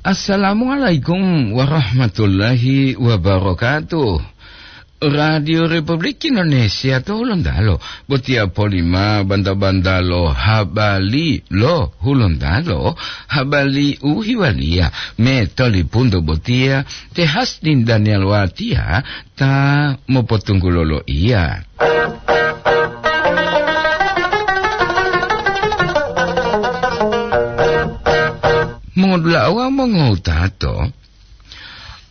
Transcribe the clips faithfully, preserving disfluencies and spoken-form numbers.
Assalamualaikum warahmatullahi wabarakatuh. Radio Republik Indonesia to Hulontalo, botiya polima banta-banta lo habari lo Hulontalo, habari u hiwaliya me tolipunto botiya te Hasdin Daniel Watiya ta mopotunggulo loiya. Mongodulawa mongowutato,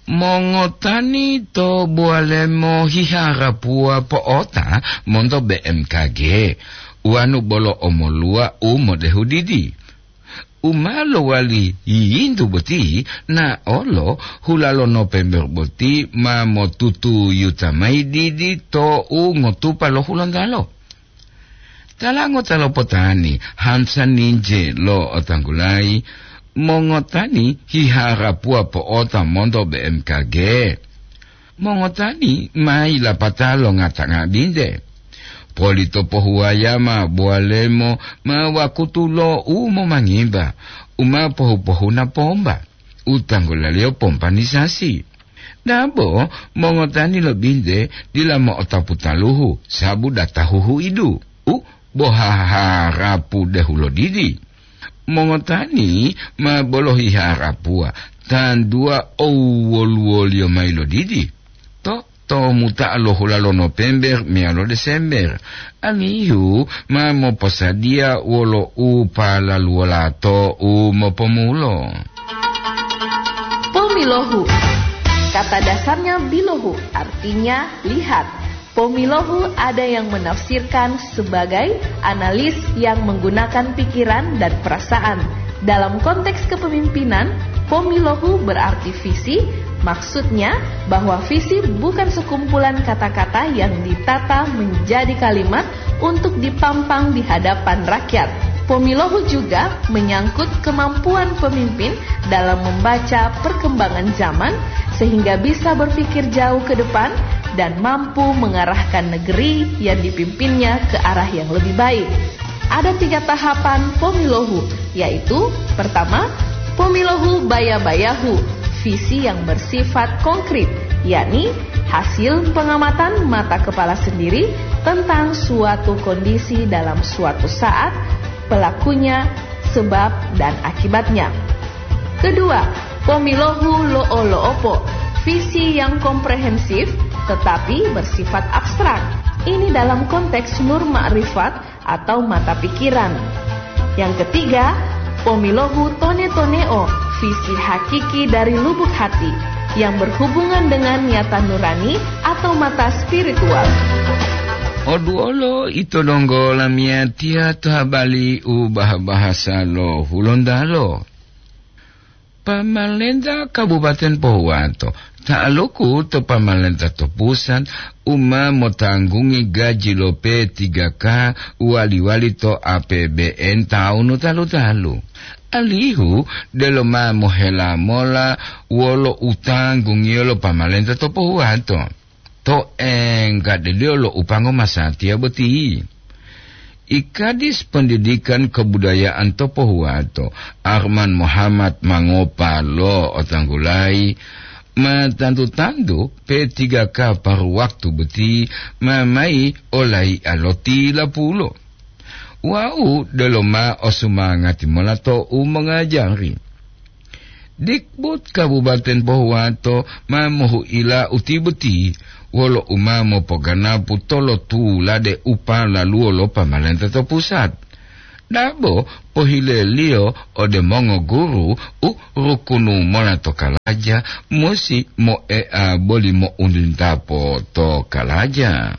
mongotani to Bowalemo hiharapuwa po'ota monto B M K G, uwanu bolo omoluwa u modehu didi. U ma lowali yiyintu boti, na olo hula lo Nopember boti ma motutuyuta mayi didi to u ngotupa lo Hulontalo. Tala ngota lo potani, Hansa Ninje lo otanggulayi, mongotani hiharapuwa po'ota monto B M K G. Mongotani ma yilapata lo ngata-ngabinte. Poli to pohuwaya ma Bowalemo ma wakutu lo u momangimba, u ma pohu-pohuna pomba, u tanggulaliyo pompanisasi. Dabo mongotani lo binte dila mo'otapu taluhu, sabu data huhuidu, u bo haharapu dehulo didi. Mongotani ma bolohi harapuwa, tantuwa owoluwoliyo mayi lo didi. To, to muta'a lo hula lo Nopember meyalo Desember, alihu ma moposadiya wolo u palaluwolato u mopomulo. Pomilohu. Kata dasarnya bilohu, artinya lihat. Pomilohu ada yang menafsirkan sebagai analis yang menggunakan pikiran dan perasaan. Dalam konteks kepemimpinan, pomilohu berarti visi, maksudnya bahwa visi bukan sekumpulan kata-kata yang ditata menjadi kalimat untuk dipampang di hadapan rakyat. Pomilohu juga menyangkut kemampuan pemimpin dalam membaca perkembangan zaman sehingga bisa berpikir jauh ke depan dan mampu mengarahkan negeri yang dipimpinnya ke arah yang lebih baik. Ada tiga tahapan pomilohu, yaitu pertama, pomilohu baya-bayahu, visi yang bersifat konkret, yakni hasil pengamatan mata kepala sendiri tentang suatu kondisi dalam suatu saat, pelakunya, sebab, dan akibatnya. Kedua, pomilohu lo'o-lo'opo, visi yang komprehensif tetapi bersifat abstrak. Ini dalam konteks nur makrifat atau mata pikiran. Yang ketiga, pomilohu tone-toneo, visi hakiki dari lubuk hati yang berhubungan dengan niatan nurani atau mata spiritual. Oduolo ito donggo lamiyatiya to habari u bah-bahasa lo Hulontalo. Pamalenta Kabupaten Pohuwato, ta'aluku to pamalenta to pusat, u ma motanggungi gaji lo P tiga K wali-wali to A P B N taunu talu-talu. Alihu delo ma mohela mola wolo utanggungiyo lo pamalenta to Pohuwato. To enggadeliyo lo upango masatiya boti. Ikadis Pendidikan Kebudayaan to Pohuwato, Arman Muhammad Mangopa lo otanggulayi, ma tantu-tantu P tiga K paru waktu boti ma mayi olaiya lo tilapulo. Wau delo ma osumangati mola to u mongajari. Dikbud Kabupaten Pohuwato ma mohuila uti boti wolo u ma mopoganapu tolotulade u palaluwo lo pamalenta to pusat. Dabo pohileliyo ode mongoguru u rukunu mola to kalaja musi moea boli mo'untintapo to kalaja.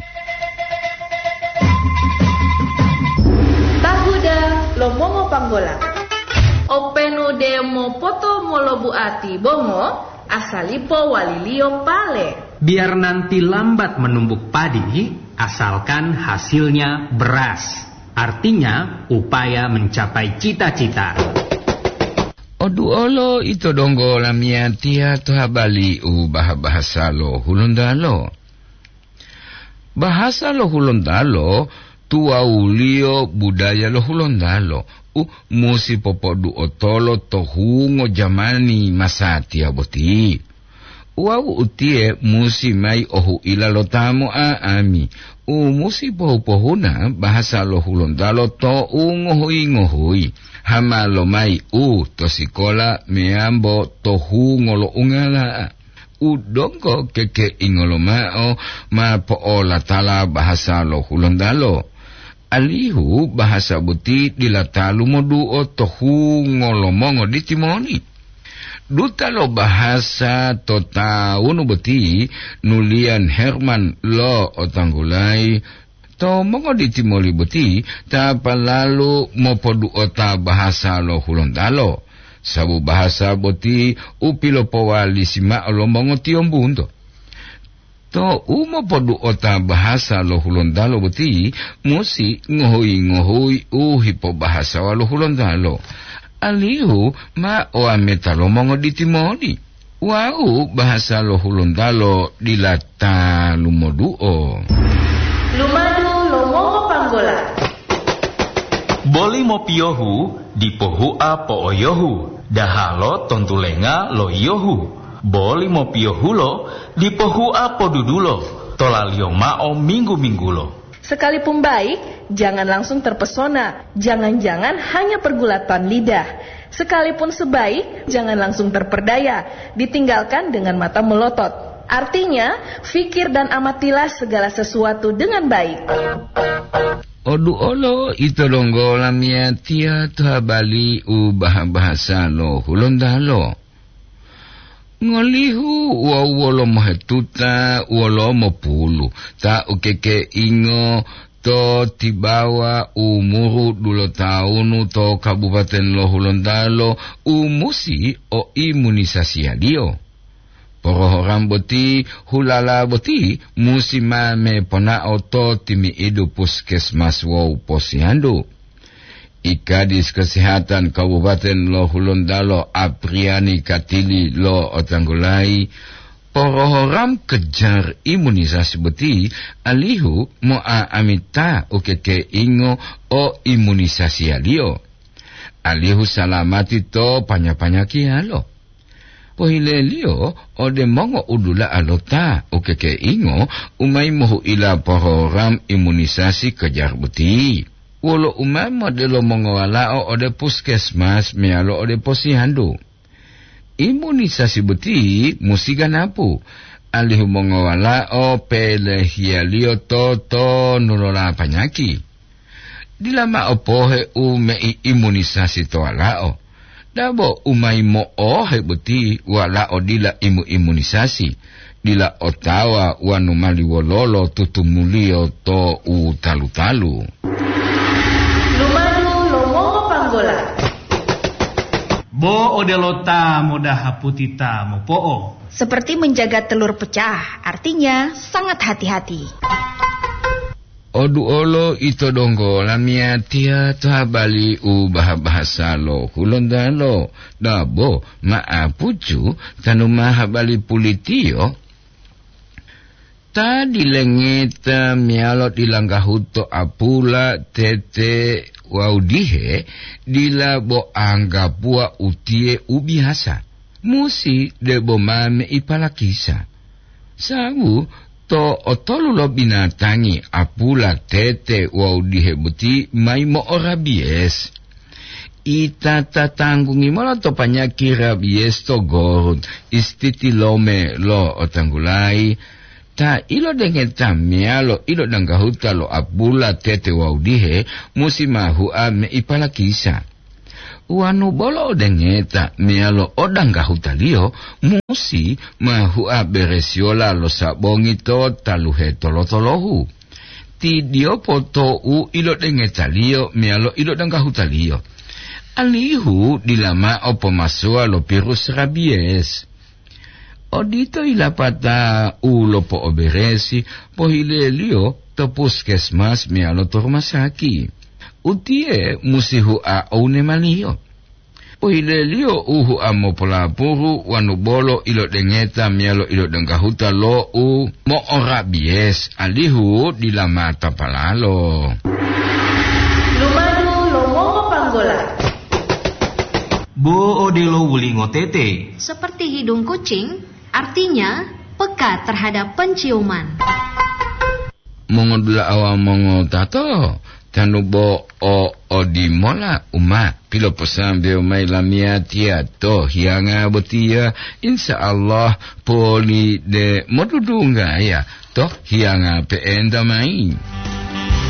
Tahuda lo mongopanggola. Openu de mopoto molobuati bongo, asalipo waliliyo pale. Biar nanti lambat menumbuk padi, asalkan hasilnya beras. Artinya, upaya mencapai cita-cita. Oduolo ito donggo lamiyatiya to habari u bah-bahasa lo Hulontalo. Bahasa lo Hulontalo tuwawuliyo budaya lo Hulontalo u musi popoduotolo to hungo jamani masatiya boti. Wawu utiye musi mayi ohuila lo ta mo'a'ami, u musi pohu-pohuna bahasa lo Hulontalo to u ngohuyi-ngohuyi, hama lomayi u to sikola meyambo to hungo lo ungala'a. U donggo kekeingo lomao ma po'olatala bahasa lo Hulontalo, alihu bahasa boti dila talu moduo to hungo lo mongoditimoni. Duta lo bahasa to tawunu boti, Nulian Herman lo otanggulayi, to mongoditimoli boti ta palalu mopoduota bahasa lo Hulontalo, sabu bahasa boti u pilopowalisi mao lo mongotiyombunto. To u mopoduota bahasa lo Hulontalo boti musi ngohuyi-ngohuyi u hipobahasawa lo Hulontalo, alihu ma oameta lo mongoditimoli. Wawu bahasa lo Hulontalo dila ta lumoduo. Lumadu lo mongopanggola. Boli mopiyohu dipo hua po'oyohu, dahalo tontulenga lo yiyohu. Boli mopiyohulo dipo hua podudulo, tolaliyo mao minggu-minggulo. Sekalipun baik, jangan langsung terpesona. Jangan-jangan hanya pergulatan lidah. Sekalipun sebaik, jangan langsung terperdaya. Ditinggalkan dengan mata melotot. Artinya, fikir dan amatilah segala sesuatu dengan baik. Odu olo ito donggo lamiyatiya to habali u baha-bahasa lo Hulontalo. Ngolihu wawu wolo mohetuta wolo mopulu ta ukekeingo to tibawa umuru dulotawunu to Kabupaten lo Hulontalo u musi o imunisasiyaliyo. Porohoram boti, hulala boti musi ma meponao to timi'idu puskesmas wawu posyandu. I Kadis Kesehatan Kabupaten lo Hulontalo, Apriani Katili lo otanggulayi, porohoram kejar imunisasi boti alihu mo'a'amita ukekeingo o imunisasiyaliyo, alihu salamati to panya-panyakiyalo. Pohileliyo ode mongo'udula'a lo ta ukekeingo u mayi mohu'ila porogram imunisasi kejar boti. Wolo u ma modelo mongowalao ode puskesmas meyalo ode posyandu. Imunisasi boti musi ganapu, alihu mongowalao pelehiyaliyo totonulola panyaki. Dila mao pohe u meiimunisasi to walao. Dabo u mayi mo'ohe boti walao dila imu-imunisasi, dila otawa wanu mali wololo tutumuliyo to u talu-talu. Lumadu lo mongopanggola. Bo odelo ta modaha puti ta mopo'o. Seperti menjaga telur pecah, artinya sangat hati-hati. Oduolo ito donggo lamiyatiya to habali u baha-bahasa lo Hulontalo, dabo ma'apucu tanu ma habali pulitiyo. Ta dilengeta meyalo dilanggahuto apula, tete wawu dihe, dila bo anggapuwa utiye u biyasa. Musi debo ma meipalakisa. Sawu to otolu lo binatangi apula, tete wawu dihe boti mayi mo'orabiyes. Ita ta tanggungi mola to panyaki rabiyes to gorut istitilome lo otanggulayi, ta ilodengeta meyalo ilodanggahuta lo apula, tete wawu dihe musi ma hua meipalakisa. Wanu bolo odengeta meyalo odanggahutaliyo musi ma hua beresiyola lo sabongi to taluhe tolo-tolohu. Ti diyopo to u ilodengetaliyo meyalo ilodanggahutaliyo, alihu dila mao pomasowa lo virus rabiyes. Odito ilapata u lopo'oberesi pohileliyo to puskesmas meyalo to rumasaki. Utiye musi hua owu nemaliyo. Pohileliyo u hu'a mopolapuru wanu bolo ilodengeta meyalo ilodenggahuta lo u mo'orabiyes, alihu dila mata palalo. Lumadu lo mongopanggola. Bo odelo wulingo tete. Seperti hidung kucing, artinya peka terhadap penciuman. Mongodula'a wawu mongotato, tanu bo o odimola u ma piloposambewo mayi lamiyatiya to hiyanga botiya, insya Allah poli de modudunggaya to hiyanga pe'enta mayi.